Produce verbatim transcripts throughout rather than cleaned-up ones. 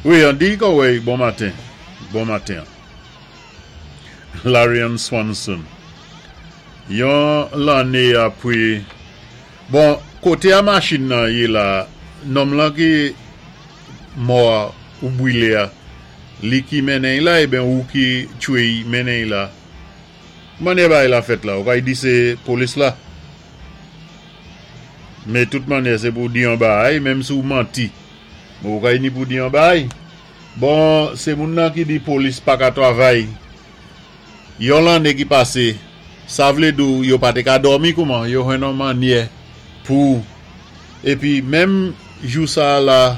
Wi, an di kon bon maten. Bon maten. Larian Swanson. Yon lanné apwé, bon, koté a machin nan yé la, nonm lan ki mò ou bwilé a, li ki mennen la, eben ou ki tchwé mennen la. Mannyè bagay la fèt la, ou kay di sé polis la. Mé tout mannyè sé pou di yon bagay, menm si ou manti. Ou kay ni pou di yon bagay. Bon, sé moun nan ki di polis pa ka twavay. Yon lanné ki pasé, sa vlé di ou yo pa té ka dòmi kouman, yo jwenn yon mannyè pou épi menm jou sa la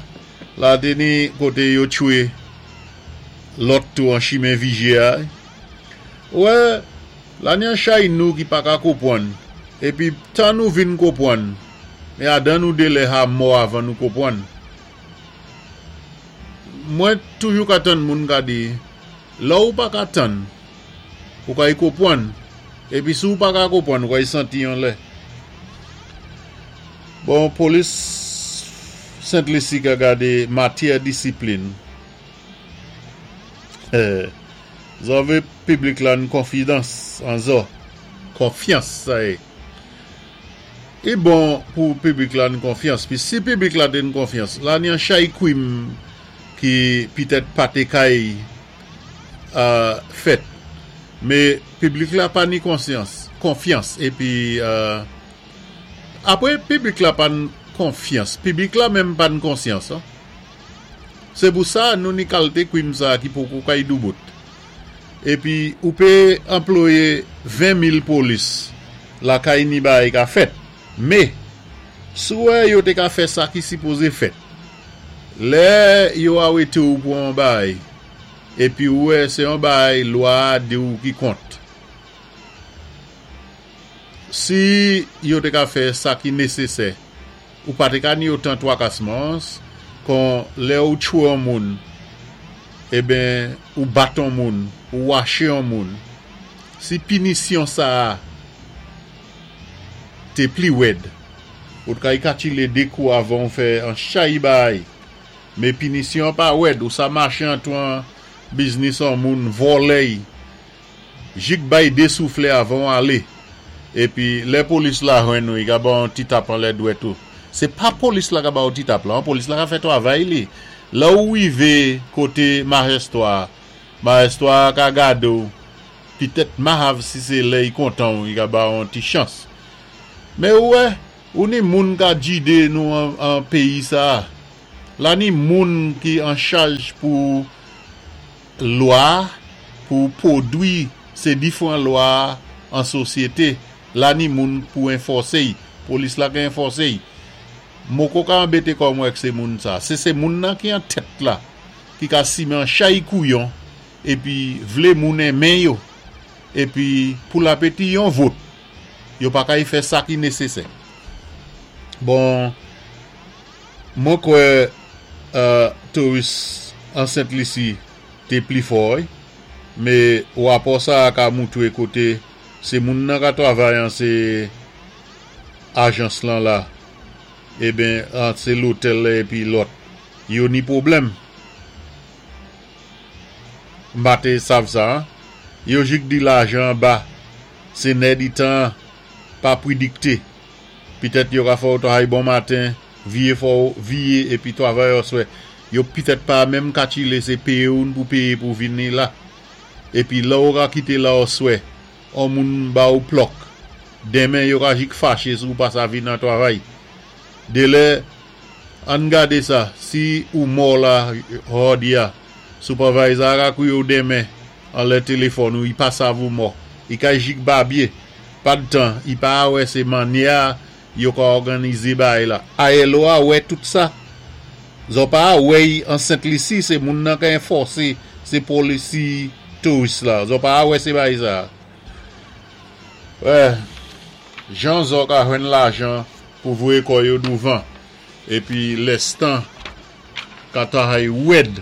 la té ni koté yo tchwé lòt tou an chimen Viger a. Wè, la ni an chay nou ki pa ka konpwann. Épi tan nou vin konpwann, mé adan nou délè ha mò avan nou konpwann. Mwen toujou ka tann moun ka di, la ou pa ka tann, ou kay konpwann. Épi si ou pa ka konpwann, ou kay santi yon lè. Bon, polis Sent Lisi ka gadé matyè disiplin. Eh, zò vé piblik la an konfidans, an zò. Konfyans, sa yé. I bon pou piblik la an konfyans. Pi si piblik la té an konfyans, la ni an chay kwim ki pitèt pa té kay euh, fèt. Mé piblik la pa ni konsyans, konfyans. Épi euh, apwé piblik la pa ni konfyans. Piblik la menm pa ni konsyans. An. Sé pou sa nou ni kalité kwim sa ki poko kay doubout. Épi ou pé anplwayé ven mil polis la kay ni bagay ka fèt. Mé si ou wè yo té ka fè sa ki sipozé fèt. Lè yo arété ou pou an bagay épi ou wè sé yon bagay lwa di ou ki kont. Si yo té ka fè sa ki nésésè, ou pa té ka ni otan twakasman, kon lè ou tchwé an moun, eben ou bat an moun, ou waché an moun, si pinisyon sa té pli wèd, ou té kay katchilé dé kou avan ou fè an chay bagay, mé pinisyon pa wèd, ou sa maché antwan biznis an moun, vòlè, jik bay dé souflé avan ou alé. Épi lè polis la jwenn nou, i ka ba an ti tap an lè dwèt ou. Sé pa polis la ka ba ou ti tap la, an polis la ka fè twavay li. La ou wivé koté majistra, majistra ka gade ou, pitèt mahav si sé lè i kontan ou, i ka ba an ti chans. Mé wè, ou ni moun ka jidé nou an, an péyi sa. La ni moun ki an chaj pou lwa, pou pwodwi sé diféwan lwa an sosyété. La ni moun pou enfòsé, polis la ka enfòsé. Moko ka anbété kò mwen sé moun sa. Sé sé moun nan ki an tèt la, ki ka simen chay kouyon, épi vlé moun enmen yo, épi pou la péti yon vot, yo pa kay fè sa ki nésésè. Bon, mwen kwè euh, touris an Sent Lisi té pli fò, mé wapò sa ka moutwé koté sé moun nan ka twavay an sé ajans lan la, eben an sé lotèl la épi lòt, yo ni pwoblèm. M pa té sav sa, an? Yo jik di lajan ba, sé nè di tan pa prédikté. Pitèt yo ka fè ou twavay bon maten, viyé fò viyé épi twavay oswè. Yo pitèt pa menm katchilé sé péyé ou pou péyé pou vini la. Épi la ou ka kité la oswè, an moun ba ou plòk. Denmen yo ka jik faché si ou pa sa vin nan twavay. Délè, ann gadé sa, si ou mò la jòdi a, supervisor ka kwié ou denmen, an lè téléfòn ou, i pa sav ou mò. I ka jik babyé. Pa d tan, i pa wè sé mannyè yo ka òganizé bagay la. I L O a wè tout sa. Zo pa wè an Sent Lisi, sé moun nan ka enfòsé, sé policy touris la. Zo pa wè sé bagay sa. Wè, jan zo ka jwenn lajan pou voyé kò yo douvan. Épi lèstan ka twavay wèd.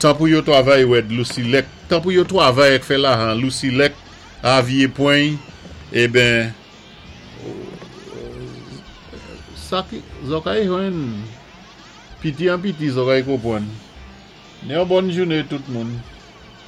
Tan pou yo twavay wèd, Lucy Lek. Tan pou yo twavay ek fè lajan, Lucy Lek, avye pwen, eben, sa ki, zo kay jwenn, piti an piti zo kay konpwann. Ni yon bòn jouné tout moun.